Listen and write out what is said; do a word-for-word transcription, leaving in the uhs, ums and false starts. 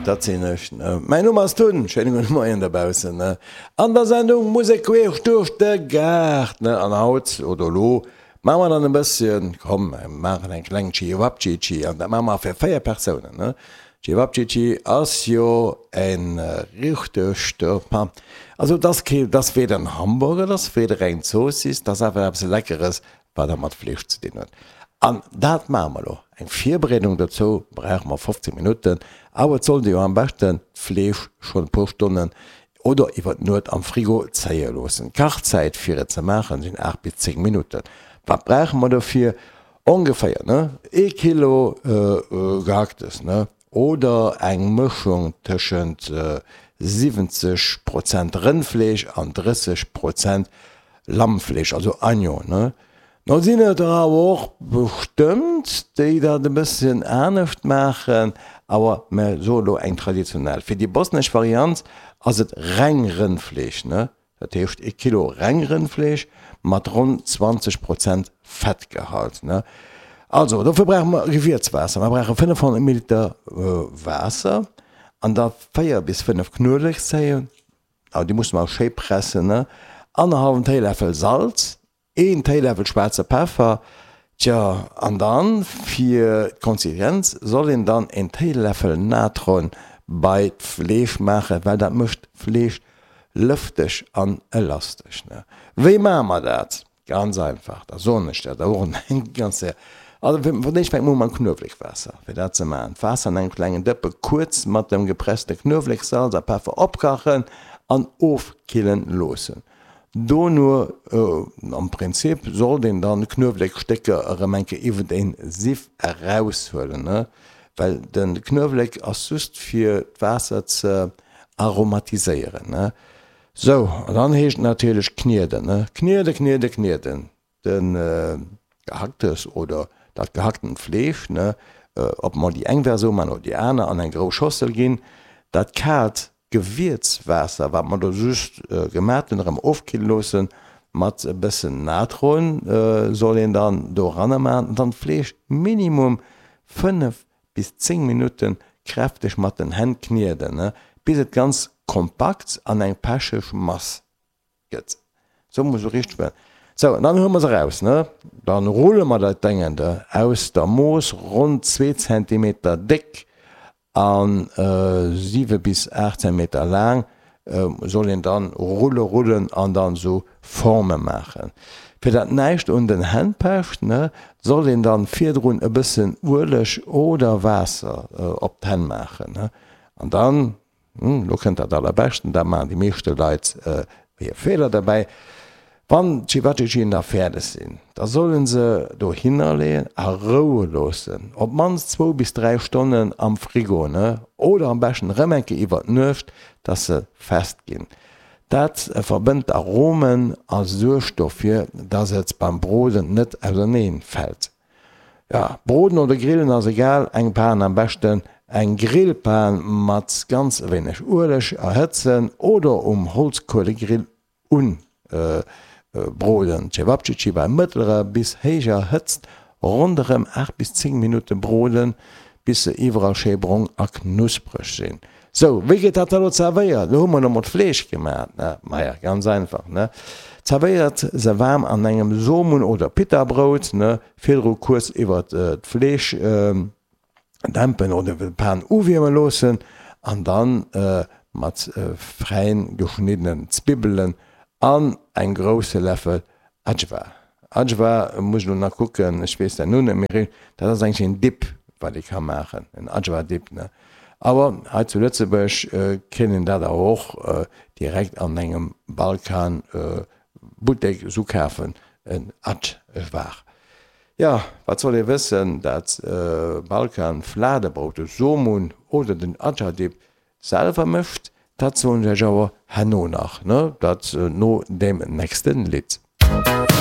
Dat sinn ech, ne? Mäin Numm ass Tun, schéine gudde Moien dobaussen, ne? An der Sendung Musek queesch duerch de Gaart, ne? An haut, oder elo, maache mer dann e bësschen, komm, mer maachen eng kleng Cevapcici, an dat maache mer fir véier Persounen, ne? Cevapcici ass jo e richtegt, also et ass kee, et ass weder en Hamburger, et ass weder eng Zoossiss, et ass einfach eppes Leckeres, wat da mat Fleesch ze dinn huet. An dat maache mer elo. Eng Virbereedung dozou brauche mer fofzéng Minutten, awer et sollt ee jo am beschten d'Fleesch schonn e puer Stonnen oder iwwer d'Nuet am Frigo zéie loossen. D'Kachzäit fir et ze maachen sinn aacht bis zéng Minutten. Wat brauche mer dofir? Ongeféier, ne, ee Kilo Gehacktes, ne, oder eng Mëschung tëschent siwwenzeg Prozent Rëndfleesch an drësseg Prozent Lammfleesch, also Agneau, ne. No sinn et der awer och bestëmmt, déi dat e bësschen anescht maachen, awer mer soe lo eng traditionell. Fir déi bosnesch Variant ass et reng Rëndfleesch, ne, dat heescht ee Kilo reng Rëndfleesch mat ronn zwanzeg Prozent Fettgehalt, ne. Also dofir brauche mer Gewierzwaasser, mer brauche fënnefhonnert Milliliter Waasser an da véier bis fënnef Knuewelekzéien, awer déi musse mer schéi pressen, ne, annerhallwen Téiläffel Salz, Een Téiläffel schwaarze Peffer, tjo an dann fir d'Konsistenz soll een dann een Téiläffel Natron bei d'Fleesch maachen, well dat mécht d'Fleesch lëfteg an elastesch. Wéi maache mer dat? Ganz einfach, da soen ech dat och eng ganz Kéier. Also fir d'éischt fänke mer u mam Knuewelekwaasser. Fir dat ze maachen, d'Waasser an engem klengen Dëppe kuerz mat dem gepresste Knuewelek, Salz a Peffer opkachen an ofkillen loossen. Dono, am Prinzip sollt een dann d'Knuewléckstécker erëm eng Kéier iwwert een Siff eraushuelen, well den Knuewléck ass just fir d'Waasser ze aromatiséieren. Sou, an dann heescht et natierlech knieden, knieden, knieden, knieden, den Gehacktes oder dat gehacktent Fleesch, ob mer déi eng Versioun man oder déi aner, an eng grouss Schossel ginn, dat kaalt Gewierzwaasser, wat mer do just gemat hunn, erëm ofkille loossen. Mat e bëssen Natron soll een dann do eranner maachen an dann d'Fleesch minimum fënnef bis zéng Minutte kräfteg mat den Hänn knieden, bis et ganz kompakt an eng pecheg Mass gëtt. Sou muss e richteg werden. Sou, an dann huele mer se eraus, ne? Dann rulle mer dat Déngende aus der Mooss ronn zwee Zentimeter déck a siwe bis aacht Zentimeter laang soll een dann rulle rullen an dann esou Forme maachen. Fir dat näischt un den Hänn pecht, ne, soll een dann virdrun e bëssen Ueleg oder Waasser op d'Hänn maachen, ne, an dann Hm, lo kënnt dat allerbeschten, dat maachen déi meeschte Leit hir Feeler derbäi. Wann d'Cevapcicien da fäerdeg sinn, da solle se dohinner leeën a roue loossen, op d'mannst zwou bis dräi Stonnen am Frigo, ne, oder am beschten erëm eng Kéier iwwer d'Nuecht, dass se fest ginn. Dat verbënnt d'Aromen a suergt dofir, dass et beim Broden net auserneen fält. Ja, broden oder grillen ass egal, eng Pan, am beschten eng Grillpan mat ganz wéineg Ueleg erhëtzen oder um Holzkuelegrill unbroden. D'Cevapcici bei mëttlerer bis héijer Hëtzt ronderëm aacht bis zéng Minutte broden, bis se iwwerall schéi brong a knuspreg sinn. Sou, wéi gëtt dat da lo zerwéiert? Lo hu mer emol d'Fleesch gemaat, ne? Maja, ganz einfach, ne? Zerwéiert se waarm an engem Somun oder Pitabrout, ne? Virdru kuerz iwwert d'Fleesch dämpen oder iwwer de Pan uwierme loossen an dann mat fräin geschniddenen Zwibbelen an engem grousse Läffel Ajvar. Ajvar, muss ech lo nach kucken, ech weess dat lo net méi richteg, dat ass eigentlech een Dip, wat ee ka maachen, en Ajvar Dip, ne? Awer hei zu Lëtzebuerg kéint een dat awer och direkt an engem Balkan Buttek esou kafen, en Ajvar. Jo, wat soll ee wëssen, dat Balkan Fladebrout, de Somun oder den Ajvar Dip selwer mécht, dat soen ech iech awer herno nach, ne? Dat no deem nächste Lidd.